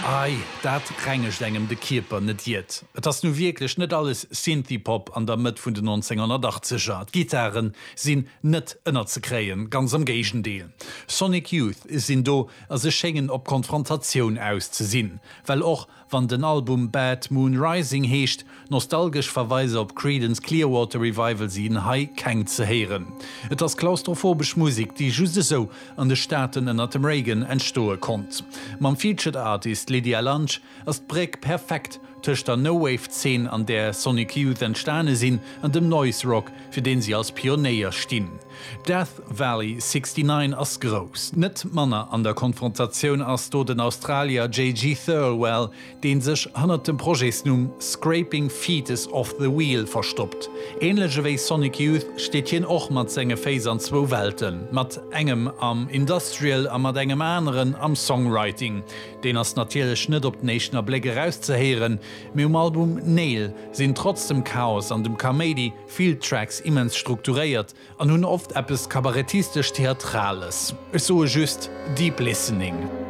Ei, dat rengegt engem de Kierper, net iert. Et ass nu wierklech net alles Synthie-Pop an der Mëtt vun den 1980er. D'Gittaren sinn net ënnerzekréien, ganz am Géigendeel. Sonic Youth sinn do a se schéngen op Konfrontatioun aus ze sinn, well och Wann den Album Bad Moon Rising heescht, nostalgesch Verweiser op Creedence Clearwater Revival sinn hei keng ze héieren. Et ass klaustrophobesch Musek, déi just esou an de Staaten ënnert dem Reagan entstoe konnt. Mam Featured Artist Lydia Lunch ass d'Bréck perfekt tëscht der No-Wave-Zeen, an där Sonic Youth entstane sinn, an dem Noise Rock, fir deen si als Pionéier stinn. Death Valley 69 ass grouss. Net manner an der Konfrontatioun ass do den Australier JG Thirlwell, dee sech hannert dem Projetsnumm Scraping Fetus Off The Wheel verstoppt. Ähnlech ewéi Sonic Youth steet hien och mat senge Féiss an zwou Welten, mat engem am Industrial a mat engem aneren am Songwriting. Deen ass natierlech net op den éischten Abléck erauszehéieren, mee um Album Nail sinn trotz dem Chaos an dem Kaméidi Vill Tracks immens strukturéiert an hunn oft eppes kabarettistesch-theatrales. Ech soe just, Deep Listening.